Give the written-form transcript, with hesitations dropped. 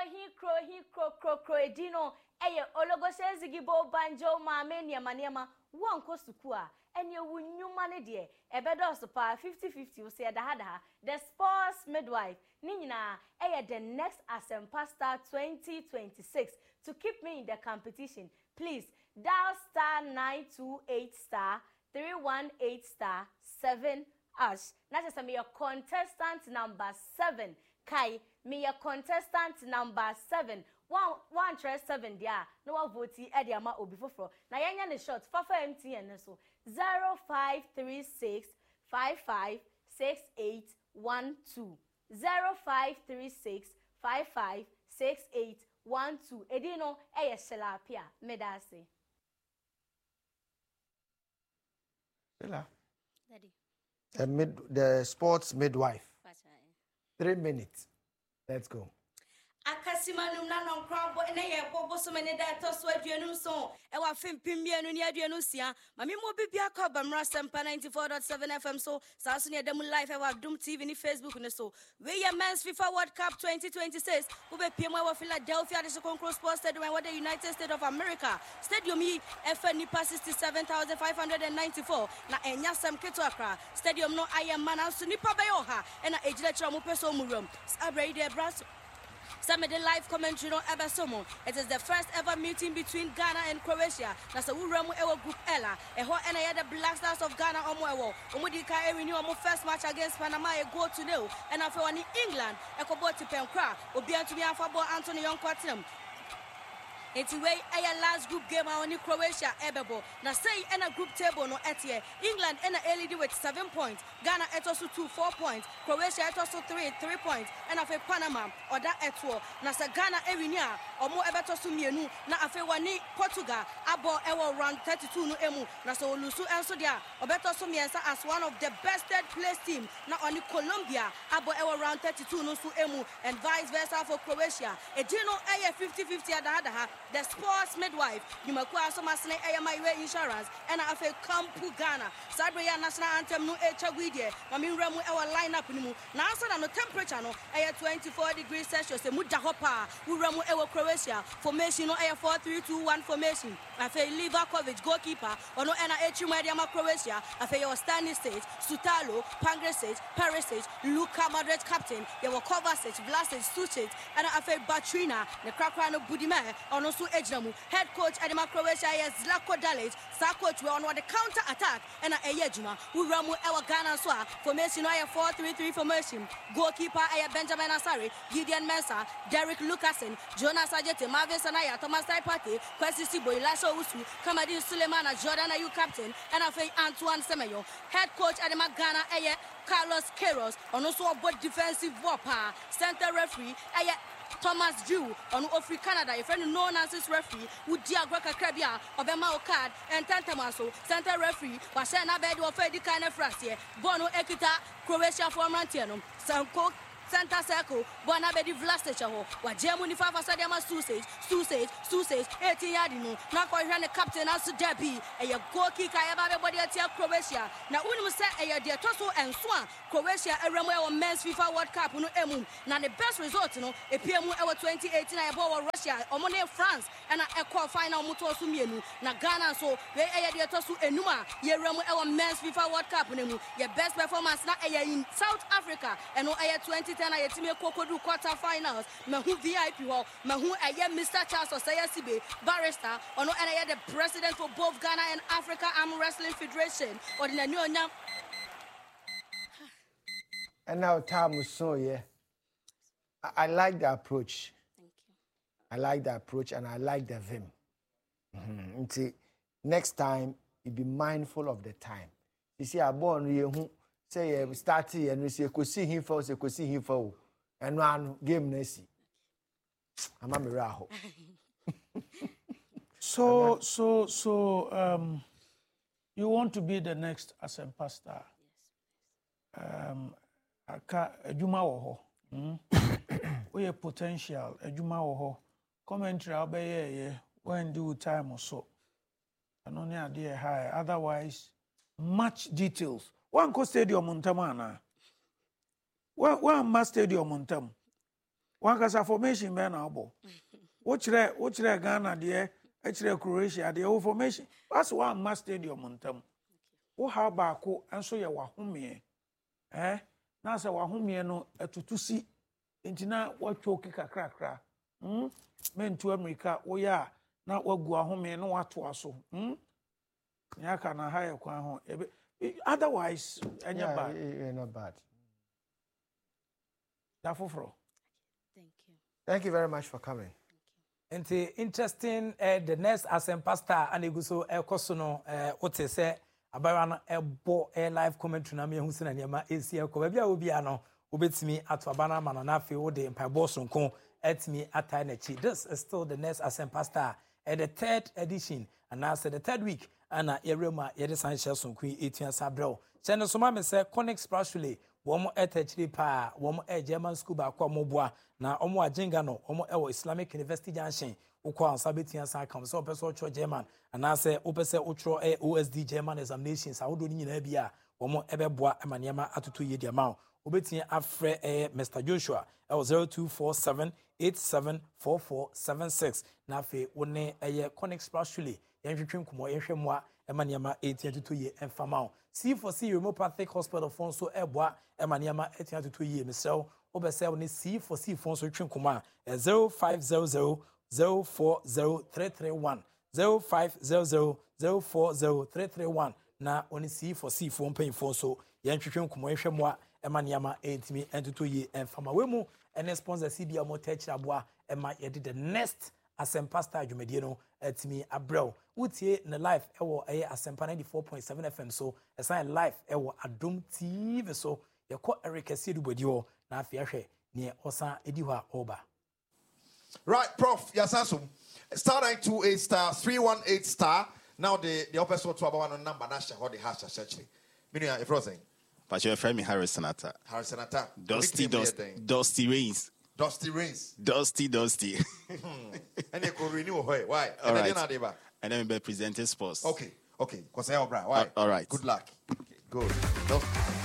hi kro hi kro kro kro edin no ɛyɛ Ologose Zigibo Banjo Maame nneɛma nneɛma woankɔ sukuu a ɛneɛ wo nnwuma no deɛ ɛbɛdɔɔso paa 50 50 wo sɛ ɛda ha da ha The Sports Midwife ne nyinaa ɛyɛ The Next Asempa Star 2026 to keep me in the competition please dial star 928 star 318 star 7 hash na kyerɛ sɛ meyɛ contestant number 7 kae meyɛ contestant number 7 woantwerɛ 7 deɛ a na woavote de ama obi foforɔ na yɛnyɛ ne short fafa MTN no so 0536 55 68 12 0536 55 68 12 edin no ɛyɛ Sheila Apia meda ase. Sheila. Daddy. The sports midwife. 3 minutes. Let's go. Akasimanum na nɔnkora bɔ ne yɛ bɔ bosome ne da ɛtɔ so 27 ɛwɔ afe 2026. Maame mu obi bi akɔ abamra Sɛmpa 94.7 FM so saa nso ne ɛda mu live ɛwɔ Adom TV ne Facebook ne so. Wei yɛ Men's FIFA World Cup 2026. Wobɛpie mu ɛwɔ Philadelphia de Kronkron Sports Stadium ɛwɔ the United States of America. Stadium yi ɛfɛ nipa 67,594 na ɛnya sɛm ketewa koraa. Stadium no ayɛ ma, nanso nipa bɛyɛ 100 ɛna ɛgyina kyerɛ ɔmo pɛ sɛ ɔmo wuram. Saa berɛ yi deɛ, ɛbra so sɛ mede live commentary no ɛbɛso mo. It is the first ever meeting between Ghana and Croatia. Na sɛ wowura mu ɛwɔ Group L a, ɛhɔ ɛna ɛyɛ the Black Stars of Ghana ɔmo ɛwɔ. Ɔmo di kan ɛwin ɔmo first match against Panama, a goal to nil, ɛna afei ɔne England ɛkɔbɔ tipɛnkora a obiara ntumi amfa bɔɔl anto ne yɔnko atenam. Nti wei ɛyɛ last group game a ɔne Croatia ɛbɛbɔ. Na sɛyi ɛna group table no ɛteɛ: England ɛna ɛlead with 7 points, Ghana ɛtɔ so 2, 4 points, Croatia ɛtɔ so 3, 3 points, ɛna afei Panama ɔda ɛtoɔ. Na sɛ Ghana ɛwin a, ɔmo ɛbɛtɔ so mmienu na afei wɔne Portugal abɔ ɛwɔ round 32 no emu. Na sɛ ɔlose nso deɛ a, ɔbɛtɔ so mmiɛnsa as one of the best third place team na ɔne Colombia abɔ ɛwɔ round 32 no nso emu, and vice versa for Croatia. Edin no ɛyɛ 50-50 adahadaha. The Sports Midwife nnwumakuo a asɔmasene ɛyɛ Mayiwe Insurance ɛna afei Kampu Ghana. Saa bere yi a national anthem no ɛretwa gu yi deɛ, ma me nwura mu ɛwɔ line up no mu. Na ansa na no, temperature no ɛyɛ 24 degrees Celsius, emu da hɔ paa. Wura mu ɛwɔ Croatia, formation no ɛyɛ 4-3-2-1 formation. Afei Livakovic, goalkeeper, ɔno ɛna ɛkyiri mu ɛde ama Croatia. Afei yɛwɔ Stanisic, Sutalo, Pongracic, Perisic, Luka Modric captain, yɛwɔ Kovacic, Vlasic, Sucic, ɛna afei Batrina ne korakora no Budimir, ɔno nso gyina mu. Head coach ɛde ma Croatia yɛ Zlatko Dalic. Saa coach wei, ɔno ɔde counter attack ɛna ɛyɛ adwuma. Wura mu ɛwɔ Ghana nso a, formation no ayɛ 4-3-3 formation. Goalkeeper ɛyɛ Benjamin Asare, Gideon Mensah, Derrick Luckassen, Jonas Adjetey, Marvin Senaya, Thomas Partey, Kwesi Sibo, Elisha Owusu, Kamaldeen Sulemana, Jordan Ayew captain, ɛna afei Antoine Semenyo. Head coach ɛde ma Ghana ɛyɛ Carlos Queiroz, ɔno nso ɔbɔ defensive ball paa. Center referee ɛyɛ Thomas Drew, ɔno ofiri Canada, yɛfrɛ no no nonsense referee. Wodi agorɔ kakra bi a, ɔbɛma wo card ntɛntɛm aso. Center referee wahyɛ n'abɛɛ de wɔfa edi kan no afiri aseɛ. Bɔɔl no ekita Croatiafoɔ mmeranteɛ no. Sanko center circle, bɔɔl no abɛdi Vlasic hɔ. Wagye mu nifa afa sɛdeɛ ama Susic, Susic, Susic, 18 yard no na akɔhwɛ ne captain, nanso dabi, ɛyɛ goal kick a yɛba abɛbɔ de atia Croatia. Na wonim sɛ ɛyɛ deɛ ɛtɔ so nso a Croatia awura mu ɛwɔ Men's FIFA World Cup no mu, na ne best result no epie mu ɛwɔ 2018 a yɛbɔ wɔ Russia. Ɔmo ne France ɛna ɛkɔɔ final, ɔmo tɔɔ so mmienu. Na Ghana nso, wei ɛyɛ deɛ ɛtɔ so enum a yɛwura mu ɛwɔ Men's FIFA World Cup no mu. Yɛ best performance na ɛyɛ in South Africa, ɛno ɛyɛ 2010 a yɛtumi kɔ kɔdu quarter finals. Mahu VIP hɔ, mahu ɛyɛ Mr Charles Osei Assibey, barrister, ɔno ɛna ɛyɛ the president for both Ghana and Africa Arm Wrestling Federation. Ɔde n'ani ɔnyam. And now time so, yeah. I like the approach. Thank you. I like the approach and I like the vim. Nti next time you be mindful of the time. You see, abɔ no yɛ hu sɛ yɛ start yɛ no sɛ ekosi hin fa o, sɛ ekosi hin fa o, ɛno ano game na esi ama mi rɛ ahɔ. So you want to be the next Asempa star? Yes. Aka adwuma wɔ hɔ. Woyɛ potential, adwuma wɔ hɔ. Commentary a wobɛyɛɛyɛ, woandi wo time so. Ɛno ne adeɛ ɛha. Otherwise, much details. Woankɔ stadium ntam anaa? Woamma stadium ntam? Wankasa formation bɛn na wobɔ? Wokyerɛ wokyerɛ Ghana deɛ, ɛkyerɛ Croatia deɛ, wo formation. Wase woamma stadium ntam. Wo haw baako nso yɛ w'ahomeɛ. Eh, na sɛ w'ahomeɛ no atutu si, nti na woatwoki kakrakra. Hmm, mentu amirika, woyɛ a na woagu ahomeɛ na woatoa so. Hmm, nea aka na ha yɛ kwan ho. Otherwise, ɛnyɛ yeah, bad. Yeah, not bad. Da foforɔ. Thank you. Thank you very much for coming. Nti interesting eh, the next Asempa star ana egu so ɛkɔ so no eh, wote sɛ abayewa no ɛbɔ eh, live commentary na mehu sɛ na nneɛma ɛsi ɛkɔ baabi a wobia no wobɛtumi ato aba no ama no na afei wode mpaebɔ soronko atumi atae n'akyi. This is still the next Asempa star eh, the third edition anaasɛ the third week ana yɛwerɛ mu a yɛde san hyɛ sonko yi ɛtua sa berɛw hyɛ no so ma me sɛ Conics Brasule Wɔn ɛta akyire paa, wɔn ɛyɛ German school baako a wɔn boa, na wɔn wɔ Adjengano, wɔn ɛwɔ Islamic University Junction, wokɔ a nsa bɛtumi asan aka wɔn, sɛ wopɛ sɛ wotwerɛ German, anaasɛ wopɛ sɛ wotwerɛ ɛyɛ OSD German examinations ahodoɔ no nyinaa bi a, wɔn ɛbɛboa ma nneɛma atoto yie de ama wo. Wobɛtumi afrɛ ɛyɛ Mister Joshua ɛwɔ 0247 874476 na afei wo ne ɛyɛ Conics Brasule Yɛntwetwe nkɔmmɔ, yɛnhwɛ mmoa ma nneɛma ɛtumi atotɔ yie mfa ma wo. C4C Homeopathic Hospital foɔ nso ɛreboa ma nneɛma atumi atotɔ yie. Mesrɛ wo, wopɛ sɛ wo ne C4C foɔ nso twe nkɔmmɔ a, 0500 040 331, 0500 040 331 na wo ne C4C foɔ mpanyinfoɔ nso yɛntwetwe nkɔmmɔ, yɛnhwɛ mmoa ma nneɛma ɛtumi atotɔ yie mfa ma. Wei mu ɛne sponsors bi a wɔtaa akyiri aboa ma yɛde the next Asɛmpa Star dwumadie no atumi abrɛ wo. Wotie no live ɛwɔ ɛyɛ Asɛmpa 94.7 FM so, ɛsan yɛ live ɛwɔ Adom TV so. Yɛkɔ Eric Asiedu Boadi hɔ na afei ahwɛ neɛ ɔsan ɛdi hɔ a ɔreba. Right prof yɛasan so star 928 star 318 star na wode deɛ wopɛ sɛ woto aba ma no number no ahyɛ hɔ de hash ahyɛ akyire. Me nua yɛfrɛ wo sɛn? Pakyɛ yɛfrɛ me Harrison Atta. Harrison Atta. Dusty Dusty Dusty Rains. Dusty Rains. Dusty Dusty. Ɛne kò rain wɔ hɔ yi why? Ɛnɛ deɛ na ade ba. Ɛnɛ mi bɛ present sports. Okay okay kɔsɛ ɔbra why? All right. Good luck. Good. Dusty.